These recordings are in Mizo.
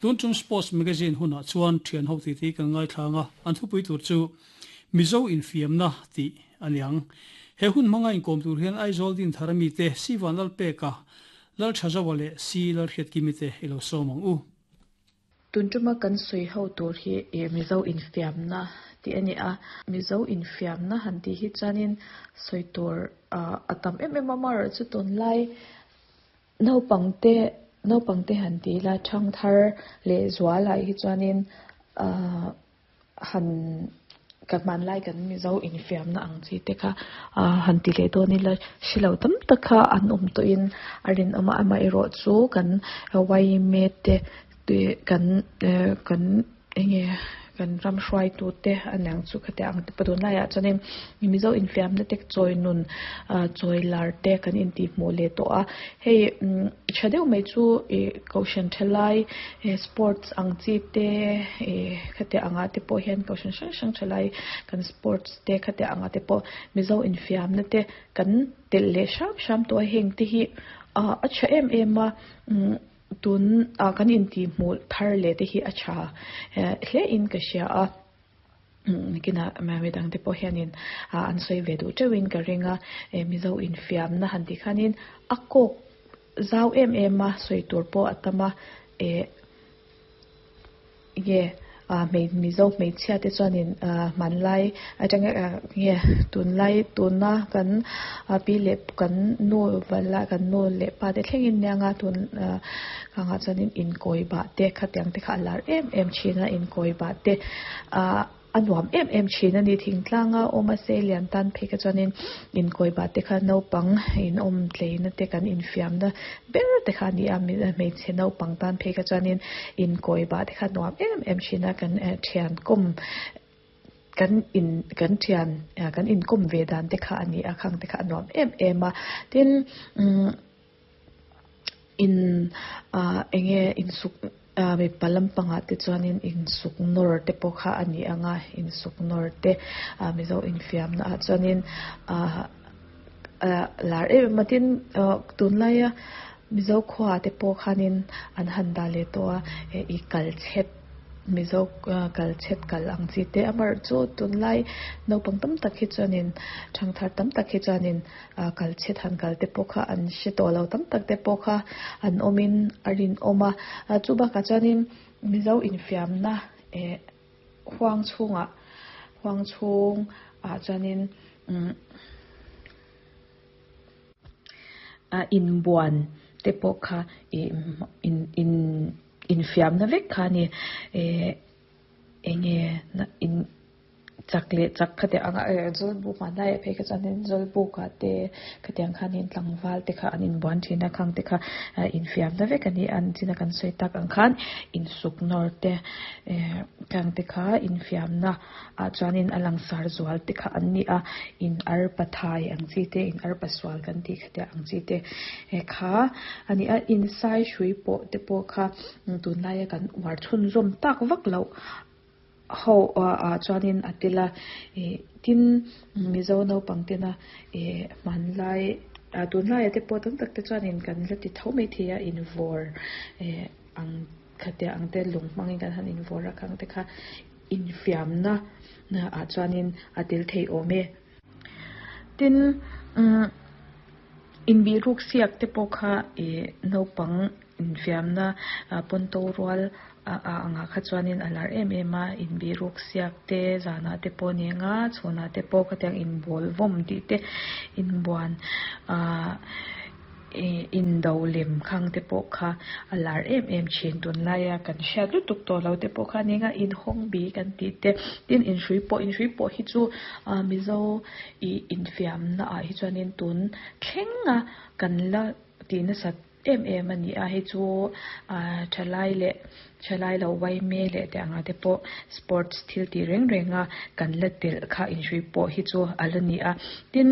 Tun tum Sports Magazine hunah chuan thian ho titi kan ngaithlang a, an thupui tur chu Mizo infiamna tih a ni ang. He hun hmanga inkawm tur hian Aizawl Dinthar mite Si Vanlalpeka, Lalthazaua leh Si Lalhriatkimi te i lo sawm ang u. Tun tuma kan sawi ho tur hi Mizo infiamna tih a ni a. Mizo infiamna han tih hi chuanin sawi tur a tam em em a, amaherawhchu tunlai Naupangte naupangte han ti ila thangthar leh zualah hi chuanin ahh han ka hmanlai kan Mizo infiamna ang chi te kha ahh han ti leh dawn ila hrelo tam tak kha an awm tawhin a rinawm a amaherawh chu kan yma te kan ehh kan enge kan ram hruaitu te a niang chu khatiang ang te pawh tunlaiah chuanin Mizo infiamna te chawi nun ah chawi lar te kan intih hmuh leh tawh a hei umm tha deuh mai chu ih kohhran thalai eh sports ang chi te ih khatiang angah te pawh hian kohhran hrang hrang thalai kan sports te khatiang angah te pawh Mizo infiamna te kan telh leh hram hram tawh a heng te hi ah a tha em em a umm. Tun ah kan intih hmuh thar leh te hi a tha hle in ka hria a, kinah midang te pawh hianin an sawi ve duh teuh in ka ring a, Mizo infiamna han tih khanin a kawk zau em em a, sawi tur pawh a tam a, eh. Nge Mizo hmeichhia te chuanin hmanlai atanga nge tunlai tuna kan pi leh kan nu vala kan nu leh pa te thlengin nia nga tun kangah chuanin inkawi bah te khatiang te kha a lar em em thin a inkawi bah te ah. A nuam em em thin a ni. Thingtlanga awm a sei lian tan phei kha chuanin inkawi bah te kha naupang inawm tleina te kan infiamna ber te kha a ni a. Hmeichhe naupang tan phei kha chuanin inkawi bah te kha nuam em em thin a. Kan thian kawm kan in kan thian kan inkawm ve dan te kha a ni a. Khang te kha a nuam em em a. Tin umm. In ah enge insuk ah mipa lampangah te chuanin insuk nawr te pawh kha a ni ang a insuk nawr te ah mizo infiamna ah chuanin ah ah lar em em a tin ah tunlaia mizo khua te pawh khanin an han dah leh tawh a ih kal chhet. Mizo kal chhet kal ang chi te amaherawh chu tunlai naupang tam tak hi chuanin thangthar tam tak hi chuanin kal chhet han kal te pawh kha an hre tawh lo tam tak te pawh kha an awmin a rinawm a chu bakah chuanin Mizo infiamna eh huang chhungah huang chhungah chuanin umm a inbuan te pawh kha ih in in. Infiamna vek kha a ni. Eh enge in chak leh chak khatiang anga eh zawlbuk hmanlai ah phei kha chuanin zawlbuk ah te khatiang khanin tlangval te kha an inbuan thin a khang te kha infiamna vek a ni a an chin a kan sawi tak ang khan insuk nawr te eh khang te kha infiamna ah chuanin a langsar zual te kha an ni a in arpa thai ang chi te in arpa sual kan tih khatiang ang chi te kha a ni a insai hrui pawh te pawh kha tunlaia kan uar chhunzawm tak vak loh ho ah chuanin a tel a ih tin mizo naupang tena ih hmanlai ah tunlaiah te pawh tam tak te chuanin kan la ti tho maithei a invawr eh ang khatiang ang te lung hmangin kan han invawr a khang te kha. Infiamna ah chuanin a tel thei awm e. Tin, inbihruk siak te pawh kha ih naupang infiamna pawnto rual angah kha chuanin a lar em em a. Inbihruk siak te zanah te pawh ni anga chhunah te pawh khatiang inbawl vawm tih te inbuan ah. Ih indo lem khang te pawh kha a lar em em thin tunlaia kan hriat lutuk tawh lo te pawh kha nia nga inhawng bi kan tih te tin inhrui pawh inhrui pawh hi chu ah mizo ih infiamna ah hi chuanin tun thlenga kan la tih nasat em em a ni a hei chu ah thalai leh thalai lo uaime leh te anga te pawh sports thil tih reng reng a kan la telh kha inhrui pawh hi chu a la ni a tin.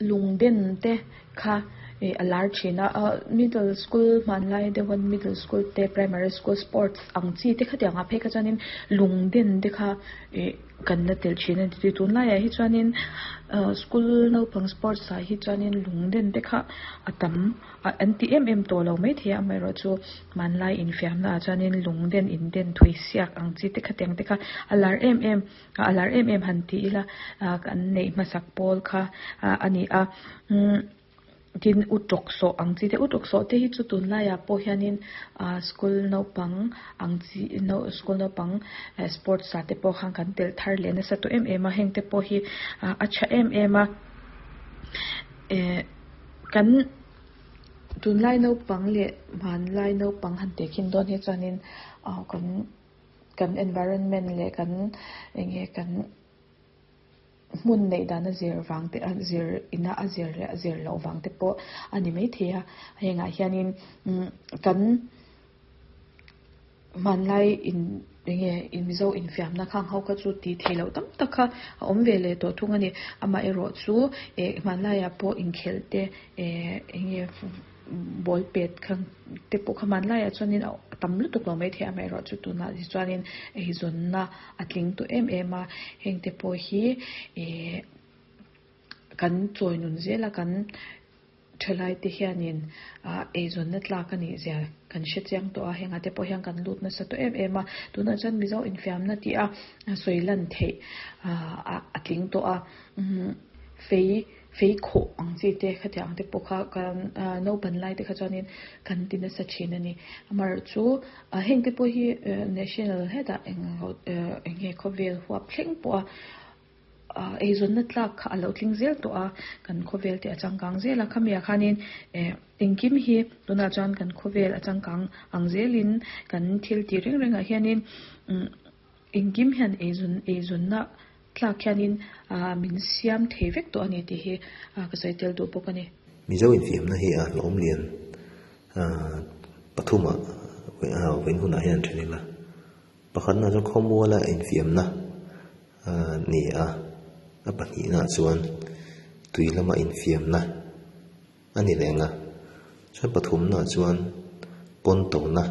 Lungden te kha Ih a lar thin a ah middle school hmanlai deuh a middle school te primary school sports ang chi te khatiang ah phei kha chuanin lung den te kha ih kan la telh thin a ni tunlaiah hi chuanin ah school naupang sports ah hi chuanin lung den te kha a tam ah an ti em em tawh lo maithei a amaherawhchu hmanlai infiamna ah chuanin lung den in den thui siak ang chi te khatiang te kha a lar em em a lar em em han ti ila ah kan neih hmasak pawl kha ah a ni a umm tin u tawk sawh ang chi te u tawk sawh te hi chu tunlaiah pawh hianin ah school naupang ang chi school naupang sports ah te pawh khan kan telh thar leh nasa tawh em em a heng te pawh hi ah a tha em em a eh kan tunlai naupang leh hmanlai naupang han tehkhin dawn hi chuanin ah kan. Kan environment leh kan eng nge kan hmun neih dan a zir vang te a zir ina a zir leh a zir loh vang te pawh a ni maithei a hengah hianin umm kan hmanlai in eng nge Mizo infiamna khang ho kha chu tih theih loh tam tak kha a awm ve leh tawh thung a ni amaherawhchu eh hmanlaiah pawh inkhelh te eh eng nge. Ball pet kha te pawh kha hmanlaiah chuanin a tam lutuk lo maithei a amaherawhchu tunah hi chuanin eizawnna a tling tawh em em a heng te pawh hi ihh kan chawi nun zel a kan thalai te hianin ah eizawnna tlak a nih zia kan hre chiang tawh a hengah te pawh hian kan lut nasa tawh em em a tunah chuan Mizo infiamna tih a sawi lan theih ah a tling tawh a umm fei. Fei khawh ang chi te khatiang ang te pawh kha kan naupan lai te kha chuanin kan ti nasa thin a ni. Amaherawhchu heng te pawh hi national hetah eng eng nge khawvel huap thleng pawh a eizawnna tlak kha a lo tling zel tawh a, kan khawvel te a changkang zel a. Khamiah khanin engkim hi tunah chuan kan khawvel a changkang ang zelin kan thil tih reng rengah hianin Engkim hian eizawn eizawnna tlak hianin min siam thei vek tawh a ni tih hi ka sawi tel duh bawk a ni. Mizo infiamna hi a hlawm lian pathuma vawiin hunah hian then ila. Pakhatna chuan khawmuala infiamna ni a, a pahnihna chuan tui lama infiamna a ni reng a. Chuan pathumna chuan pawn tona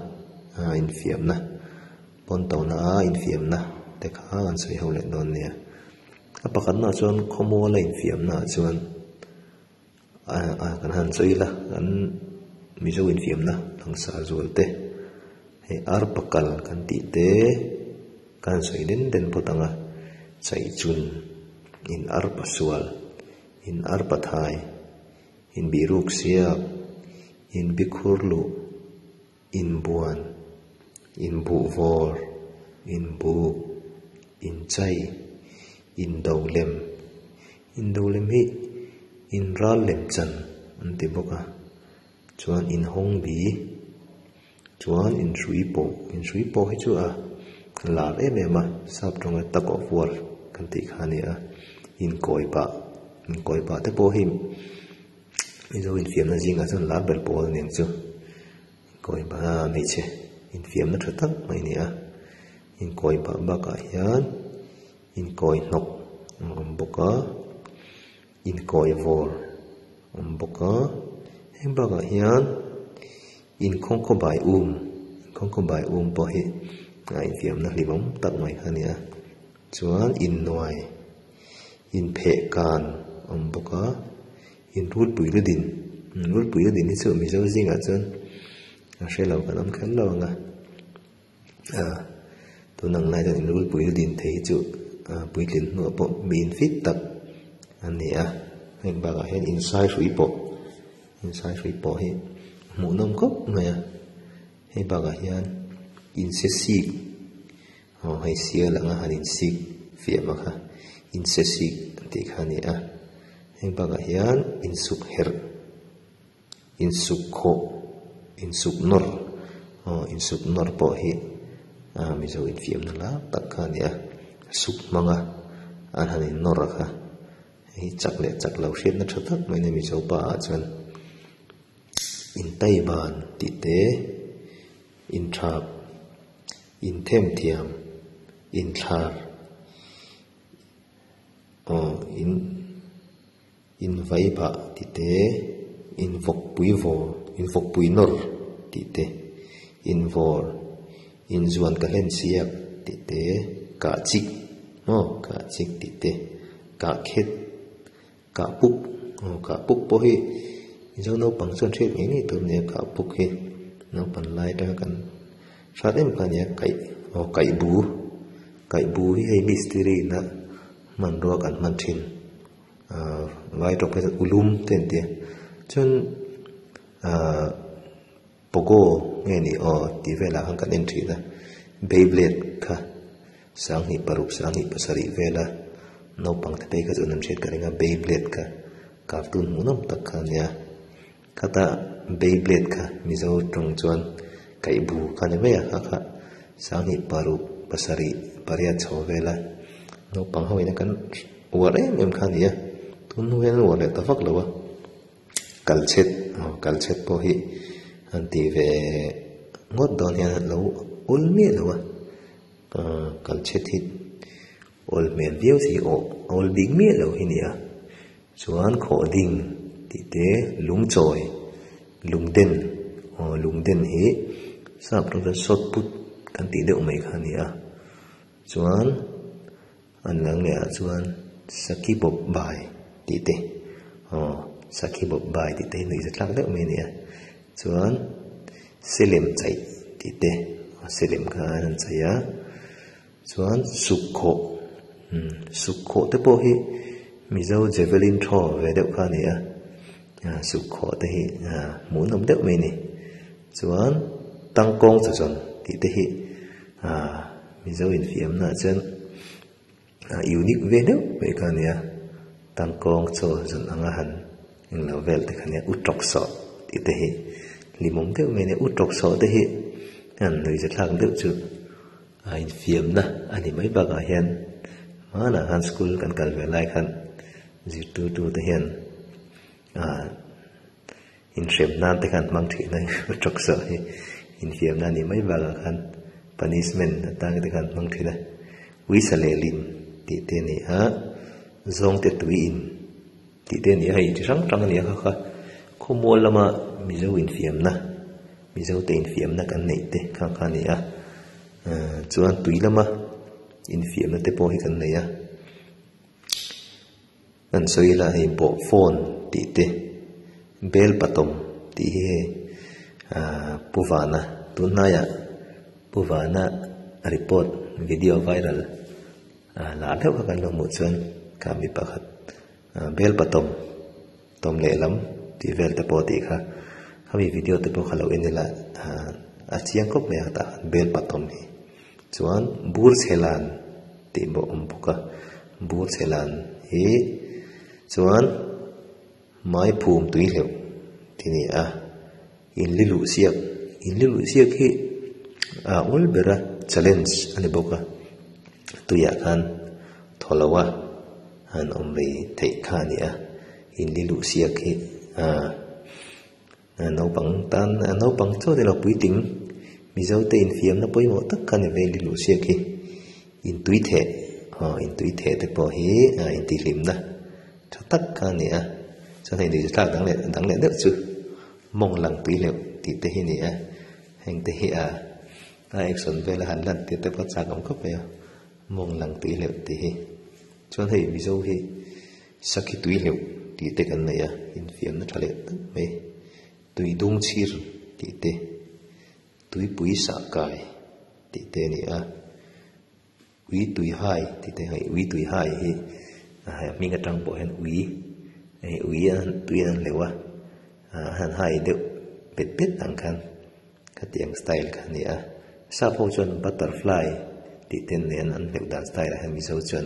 infiamna pawn tona a infiamna te kha an sawi ho leh dawn nia. A pakhatna chuan khawmuala infiamna ah chuan kan han sawi ila kan Mizo infiamna langsar zual te hei arpa kal kan tih te kan han sawi den den phawt ang a chaihchun in arpa sual. In arpa thai, in bihruk siak, in bikhur luh, in buan, in buhvawr, in buk, in chai, in do lem. In do lem hi in ral lem chan an ti bawk a, chuan in hawng bi, chuan in hrui pawh, in hrui pawh hi chu a lar em em a, sap tawnga tug of war kan tih kha a ni a, inkawi pah inkawi pah te pawh hi Mizo infiamna zingah chuan lar ber pawl a ni ang chu, inkawi pah a hmeichhe infiamna tha tak mai a ni a, inkawi pah bakah hian inkawi hnawk a awm bawk a. Inkawi vawr a awm bawk a, heng bakah hian inkhawngkhaw bai um inkhawngkhaw bai um pawh hi a infiamna hlimawm tak mai kha a ni a, chuan innuai inpheh kan a awm bawk a, inrulpui lu din inrulpui lu din hi chu Mizo zingah chuan a hre lo kan awm kher lo ang a. Tun ang lai chuan inrulpui din thei hi chu puitlin hnuah pawh mi infit tak a ni a, heng bakah hian insai hrui pawh insai hrui pawh hi hmuhnawm khawp mai a, hei bakah hian inse sik aw hei sial anga han insik fiah mak a inse sik an tih kha a ni a, heng bakah hian insuk herh. Insuk khawh, insuk nawr, aw insuk nawr pawh hi ah Mizo infiamna lar tak kha a ni a, suk hmanga an han in nawr a kha, hei chak leh chak lo hriatna tha tak mai a ni Mizo pa ah chuan intaiban tih te, inthap, inthemthiam, inthlar, aw in. In vai bah ti te, Invawkpui vawr, invawkpui nawr tih te, invawr, inzuan ka hlen siak tih te, kah chik maw kah chik tih te, kah khet, kah puk aw kah puk pawh hi Mizo naupang chuan hriat ngei ngei tur a nia kah puk hi naupan lai atanga kan hrat em kha a nia kaih aw kaih bu kaih bu hi hei mistiri ina hmanrua kan hman thin. Ahh vai tawk phei chuan ulum te an ti a chuan ahh pogo nge ni aw tih velah khan kan en thin a beyblade kha sanghnih paruk sanghnih pasarih vela naupang te phei kha chuan an hriat ka ring a beyblade kha cartoon hmuhnawm tak kha a nia khata beyblade kha mizo tawng chuan kaihbu kha a ni mai a kha kha sanghnih paruk pasarih pariat chho vela naupang ho ina kan. Uar em em kha a ni a, tun hnu hian an uar leh ta vak lo a, kalchhet aw kalchhet pawh hi an ti ve ngawt dawn hian an lo awl miah lo a, ahh kalchhet hi awl hmel viau si aw awl bik miah lo hi a ni a, chuan khawh ding tih te lungchawi lungden aw lungden hi sap rawng chuan shot put kan tih deuh mai kha a ni a, chuan. An lang leh ah chuan Sakhi bawp bai tih te aw Sakhi bawp bai tih te hi nuihza tlak deuh mai a ni a chuan Selem chaih tih te Selem kha an han chaih a chuan Sukkhawh umm Sukkhawh te pawh hi Mizo Javelin throw ve deuh kha a ni a Sukkhawh te hi hmuhnawm deuh mai a ni chuan Tangkawng chaw zawn tih te hi ahh. Mizo infiamna ah chuan ah unique ve deuh mai kha a nia tangkawng chaw zawn anga han englo vel te kha nia u tawk sawh tih te hi hlimawm deuh mai a nia u tawk sawh te hi an nuihza thlak deuh chu a infiamna a ni mai bakah hian hmanah khan school kan kal ve lai khan zirtirtu te hian ah. Inhrem nan te khan hmang thin a u tawk sawh hi infiam na nih mai bakah khan punishment atang te khan hmang thin a uisa leh lim tih te a ni a zawngte tui in tih te a ni a hei chi hrang hrang a ni a kha kha khawmual lama mizo infiamna mizo te infiamna kan neih te kha kha a ni a chuan tui lama infiamna te pawh hi kan nei a. Kan sawi ila hei bawh phone tih te bel patawm tih hi hei ahh pu vana tun hnaiah pu vana report video viral ah lah deuh kha kan lo hmuh chuan kha mi pakhat ah bel patawm tawm lehlam tih vel te pawh tih kha khami video te pawh kha lo en ila ah a chiang khawp mai a tah khan bel patawm hi chuan bur chhe lan. Tih pawh awm bawk a bur chhe lan hi chuan mai phum tui hleuh tih a ni a inli luh siak inli luh siak hi a awl ber a challenge a ni bawk a tuiah khan thaw lo a han awm mai theih kha a ni a inli luh siak hi ah. Naupang tan naupang chaw ni lo puitling Mizo te infiamna pawimawh tak kha ni ve luh siak hi intui theh aw intui theh te pawh hi intihhlimna tha tak kha a ni a chuan hei nuihza thlak dang leh dang leh deuh chu mawng lang tui hleuh tih te hi a ni a heng te hi a a action vel a han lan tir te pawh a chak awm khawp mai a mawng lang tui hleuh tih hi chuan hei Mizo hi. Sakhi tui hleuh tih te kan nei a, infiamna tha leh tak mai. Tui dung chhir tih te, tuipui sah kai tih te a ni a, ui tui hai tih te hei ui tui hai hi a hming atang pawh hian ui hei ui a tui an hleuh a, a han hai deuh pet pet ang khan khatiang style kha a ni a. Sap ho chuan butterfly tih te nen an hleuh dan style ah hian Mizo chuan.